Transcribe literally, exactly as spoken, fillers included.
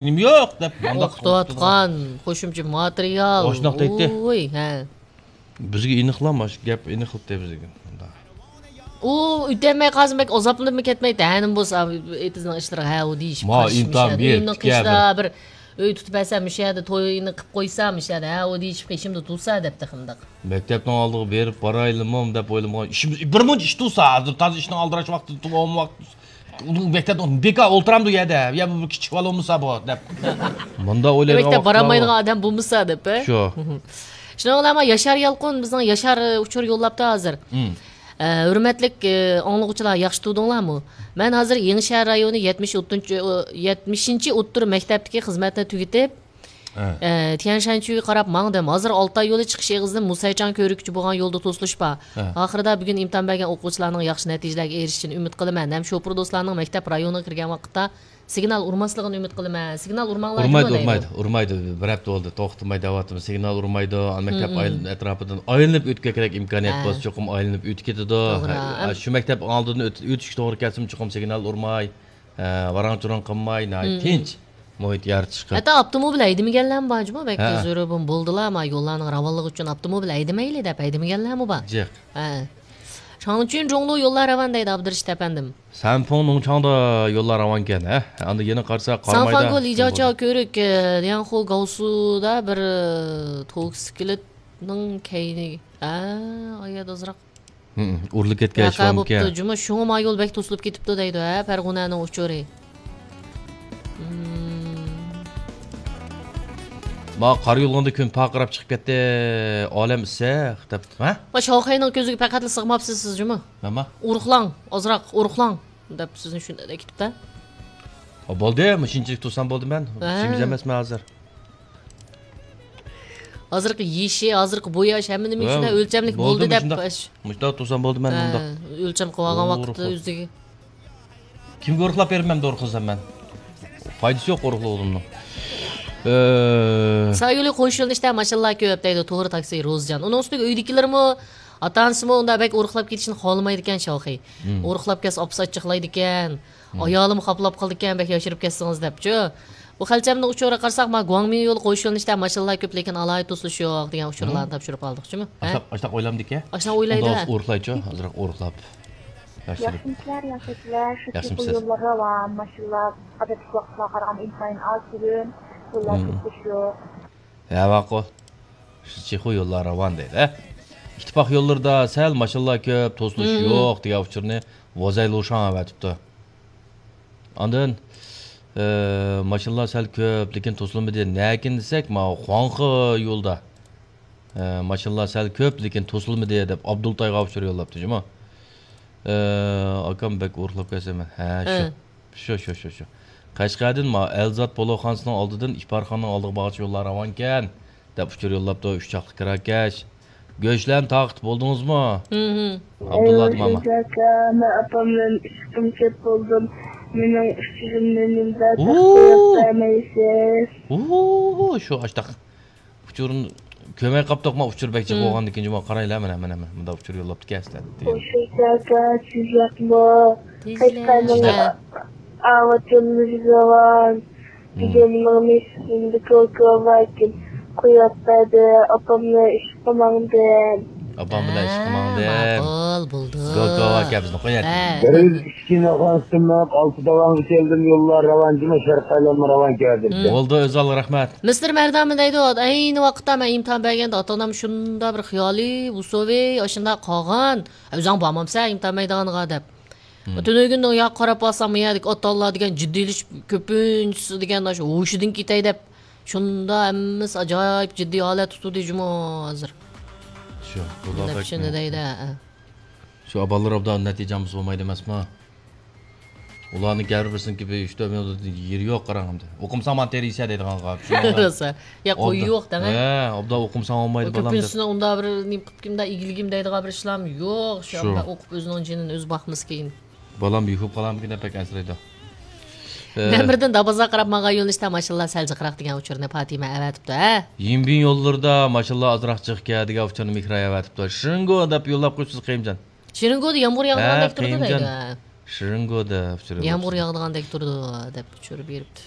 نېمە يوق دەپ، مۇنداق ئوقۇتۇۋاتقان قوشۇمچە ماتېرىيال. ئاشۇنداق دەيتتى. ۋوي، ھە. بىزگە ئېنىقلا، مانا شۇ گەپ ئېنىقلىتتى بىزگە. ئۇ ئۆتەلمەي قالسا بەك ئازابلىنىپمۇ كەتمەيتتى. ھەنىم بولسا ئېتىزنىڭ ئىشلىرىغا ھە، ئۇ دېيىشىپ ما قېشىمدا ئۆي تۇتسا، مۇشۇ يەردە تويىنى قىپ قويسا، مۇشۇ يەردە تويىنى قىپ قويسا، مۇشۇ يەردە ھە، ئۇ دېيىشىپ قېشىمدا تۇرسا دەپتۇ قانداق. مەكتەپنىڭ ئالدىغا بېرىپ بارايلىمۇ دەپ ئويلىمىغان. ئىشىمىز، بىر مۇنچە ئىش تۇرسا، ھازىر تازا ئىشنىڭ ئالدىراش ۋاقتىدا تۇرۇۋالما ۋاقتى. ئۇ مەكتەپتە بىكار ئولتۇرامدۇ يەردە؟ يا بۇ كىچىك بالا بولمىسا بۇ دەپ. مۇنداق ئويلايدىغان مەكتەپ ۋاقىتلار بارالمايدىغان ئادەم بولمىسا دەپ، ھە؟ شۇ. شۇنىڭ بىلەن ياشار يالقۇن بىزنىڭ ياشار ئۇچۇر يوللاپتۇ ھازىر. مم. ئە، ھۆرمەتلىك، ئە، ئاڭلىغۇچىلار، ياخشى تۇردۇڭلارمۇ؟ مەن ھازىر يېڭىشەھەر رايونى يەتمىش ئوتتۇرىنچى، يەتمىشىنچى ئوتتۇرا مەكتەپتىكى خىزمەتنى تۈگىتىپ، ھە. ئە، تيەنشەنچۈگە قاراپ ماڭدىم. ھازىر ئالتاي يولى چىقىش ئېغىزىدىن مۇسەيچاڭ كۆۋرۈكىچە بولغان يولدا توسۇلۇش بار. ھە. ئاخىرىدا بۈگۈن ئىمتىھان بەرگەن ئوقۇغۇچىلارنىڭ ياخشى نەتىجىلەرگە ئېرىشىشىنى ئۈمىد قىلىمەن ھەم شوپۇر دوستلارنىڭ مەكتەپ رايونىغا كىرگەن ۋاقىتتا سىگنال ئۇرماسلىقىنى ئۈمىد قىلىمەن. سىگنال ئۇرماڭلار ئۇرمايدۇ، دەيدۇ. ئۇرمايدۇ، ئۇرمايدۇ. بىر ھەپتە بولدى، توختىماي دەۋاتىمىز. سىگنال ئۇرمايدۇ. ئانا مەكتەپ مم، مم. ئەتراپىدىن ئايلىنىپ ئۆتكۈگە كېرەك ئىمكانىيەت ھە. بولسا، چوقۇم ئايلىنىپ ئۆتۈپ كېتىدۇ. توغرا. ھە، شۇ مەكتەپ ئالدىدىن ئۆت-، ئۆتۈشكە توغرا كەلسىمۇ، چوقۇم سىگنال ئۇرماي، ھە، ۋاراڭ-چۇرۇڭ قىلماي، ناھايىتى مم، مم. تىنچ مۇھىت يارىتىشقا. ھەتتا ئاپتوموبىل ھەيدىمىگەنلەرمۇ بار جۇمۇ، بەك ھە. زۆرۈر بولدىلا، ما يوللارنىڭ راۋانلىقى ئۈچۈن ئاپتوموبىل ھەيدىمەيلى دەپ ھەيدىمىگەنلەرمۇ بار. جىق. ھە. شاڭچۈن جۇڭلۇ يوللار راۋان دەيدۇ ئابدۇرېشىت ئەپەندىم. سەنفۇڭ نۇڭچاڭدا يوللار راۋانكەن، ھە؟ ئاندىن يەنە قارىساق، قارامايدا. سانفاڭگو لىجاچياۋ كۆۋرۈك، ئە، لياڭخۇ گاۋسۇدا بىر، ئە، توكسىكلىتنىڭ كەينى، ئە، ئايا ئازراق ھىم، ئۇرۇلۇپ كەتكەن ۋەقە بوپتۇ جۇمۇ، شۇڭا ما يول بەك توسۇلۇپ كېتىپتۇ دەيدۇ، ھە، پەرغۇنەنىڭ ئۇچۇرى. ھىم. ما قار يولغىنىدا كۈن پارقىراپ چىقىپ كەتتى، ئالەم ئىسسىق دەپ، ھە؟ ما شاۋخەينىڭ كۆزىگە پەقەتلا سىغماپسىز سىز جۇمۇ. نېمە؟ ئۇرۇقلاڭ، ئازراق ئۇرۇقلاڭ دەپ سىزنى شۇنداق كېتىپتۇ. بولدى، مۇشۇنچىلىك تۇرسام بولدى مەن. ھە. ئىشىمىز ئەمەسمەن ھازىر. ھازىرقى يېشى، ھازىرقى بوياش، ھەممە نېمە ھە، شۇنداق ئۆلچەملىك بولدى بولدى دەپ مۇشۇنداق. مۇشۇنداق تۇرسام بولدى مەن ھە، مۇنداق. ئۆلچەم قىلىۋالغان ۋاقىتتا ئۆزىگە. كىمگە ئۇرۇقلاپ بېرىمەن، ئەمدى ئۇرۇقلىسام مەن؟ پايدىسى يوق ئۇرۇقلىغۇنۇمنىڭ. ئە، سايولى قوش يۆنىلىشتە ماشىنىلار كۆپ دەيدۇ، توغرا تاكسى روزىجان. ئۇنىڭ ئۈستىگە ئۆيدىكىلىرىمۇ، ئاتا-ئانىسىمۇ ئۇنداق بەك ئۇرۇقلاپ كېتىشنى خالىمايدىكەن شاۋخى. مم. ئۇرۇقلاپ كەتسە ئاپىسى ئاچچىقلايدىكەن. مم. ئايالىمۇ خاپىلاپ قالىدىكەن، بەك ياشىرىپ كەتسىڭىز دەپچۇ. بۇ خەلچەمنىڭ ئۇچۇرىغا قارىساق، ما گۇاڭمىن يولى قوش يۆنىلىشتە ماشىنىلار كۆپ، لېكىن ئالاھىدە توسۇلۇش يوق دېگەن ئۇچۇرلارنى مم. تاپشۇرۇپ ئالدۇقچۇمۇ؟ ھە؟ ئاشۇنداق، ئاشۇنداق ئويلامدىكەن. ئاشۇنداق ئويلايدۇ، ئۇنداق ھە. ئۇرۇقلايچۇ، ئازراق ئۇرۇقلاپ. ياخشى. ياخشىمىسىلەر، ياخشىمىسىلەر. شۇ ياخشىمۇسىز؟ يوللار راۋان، ماشىنىلار ئادەتتىكى ۋاقىتلارغا قارىغاندا ئىنتايىن ئاز بۈگۈن. يوللار مم. توسۇلۇش يوق. ھە، ماقۇل. شۇ چېخۇ يوللار راۋان دەيدۇ، ھە؟ ئىتتىپاق يوللىرىدا سەل ماشىنىلار كۆپ، توسۇلۇش مم. يوق دېگەن ئۇچۇرنى ۋوزەي لۇشاڭ ئەۋەتىپتۇ. ئاندىن، ئە، ماشىنىلار سەل كۆپ، لېكىن توسۇلمىدى. نەكىن دېسەك، ماۋۇ خۇاڭخې يولىدا، ئە، ماشىنىلار سەل كۆپ، لېكىن توسۇلمىدى دەپ ئابدۇلتايغا ئۇچۇر يوللاپتۇ جۇمۇ. ئە، ئاكام بەك ئۇرۇقلاپ كەتسەم مەن. ھە، شۇ. ھە. شۇ، شۇ، شۇ، شۇ. قەشقەردىن ما ئەلزات پولۇخانىسىنىڭ ئالدىدىن ئىپارخانىنىڭ ئالدىغا بارغۇچە يوللار راۋانكەن، دەپ ئۇچۇر يوللاپتۇ، ئۈچ چاقلىق كىراكەش. گۆشلەرنى تارقىتىپ بولدىڭىزمۇ؟ ھىم، ھىم. ئابدۇللا ماما. ئەي، ئاكا، مەن ئاپام بىلەن ئىشقىم كەپ بولدۇم. مېنىڭ ئۇچۇرۇمنى نېمىدە ئۇ! تەستىقلاپ بەرمەيسىز؟ ئۇ، شۇ ئاشتاق. ئۇچۇرنى كۆرمەي قاپتۇق، ما ئۇچۇر بەك جىق ھىم. بولغاندىن كېيىن جۇما قارايلا، مانا، مانا، مانا، مۇنداق ئۇچۇر يوللاپتىكەن ئەسلى. ئۇ شۇ ئاكا، سىز ياقمۇ؟ تېزلە. قەشقەرنىڭ ھە. ئاۋاتىمىز راۋان. ھىم. دېگەننىڭ نېسىسىندە كوكا باركىن. قويۇپ بەردى، ئاپامنى ئىشقا ماڭدىم. ئاپام بىلەن ئىشقا ھە، ماڭدىم. ماقۇل، بولدى. كوكا باركەن بىزنى قوياتتى. ھە. بىر ئىككى ناخان سىناپ، ئالتە داۋانغا كەلدىم، يوللار راۋان جۇما، شەرققە ئايلانما راۋان كەلدىم. ھىم. بولدى، ئۆزۈڭلارغا رەھمەت. مىستېر مەردان دەيدۇ، ئەينى ۋاقىتتا مەن ئىمتىھان بەرگەندە ئاتا-ئانام شۇنداق بىر خىيالىي، ئۇسسۇۋى، ئاشۇنداق قالغان. ئۆزۈڭ بارمامسەن ئىمتىھان مەيدانىغا دەپ. مم. تۈنۈگۈن يا قاراپ بارسام، يەردىكى ئاتا-ئانىلار دېگەن جىددىيلىشىپ، كۆپىنچىسى دېگەن ئاشۇ ھوشىدىن كېتەي دەپ، شۇنداق ھەممىسى ئاجايىپ جىددىي ھالەتتە تۇردى جۇمۇ ھازىر. شۇ، بۇلار دەپ بەك شۇنى دەيدۇ، ھە. شۇ بالىلار ئوبدان نەتىجە ئالمىسا بولمايدۇ ئەمەسمۇ؟ ئۇلارنىڭ ھەر بىرسىنىڭكى بىر ئۈچ تۆت مىنۇت يېرى يوق قاراڭ ئەمدى. ئوقۇمساڭ مانا تېرىيسە دەيدىغانغا. روسا. يا، قويۇق دەڭە. ھە، ئوبدان ئوقۇمساڭ بولمايدۇ بالام دەپ. كۆپىنچىسىنىڭ ئۇنداق بىر نېمە قىلىپ كىمدا ئىگىلىگىم دەيدىغان بىر ئىشلام يوق. شۇ شۇ. ئوقۇپ ئۆزىنىڭ جېنىنى ئۆزى باقمىسا كېيىن. بالام يۇقۇپ قالامدىكىن دەپ بەك ئەنسىرەيدۇ. ئە، مەن بىردىن دابازغا قاراپ ماڭغان يۆنىلىشتە ماشىنىلار سەل جىقراق دېگەن ئۇچۇرنى پاتىمە ئەۋەتىپتۇ، ھە؟ يىنبىن يوللىرىدا ماشىنىلار ئازراق جىقكەن دېگەن ئۇچۇرنى مېھراي ئەۋەتىپتۇ. شىرىنگو دەپ يوللاپ قويۇپسىز قېيىمجان. شىرىنگودا يامغۇر ھە، ياغىدىغاندەك تۇرىدۇ قېيىمجان. دەيدۇ. شىرىنگو دەپ ئۇچۇر يامغۇر يوللاپسىز. ياغىدىغاندەك تۇرىدۇ دەپ ئۇچۇر بېرىپتۇ.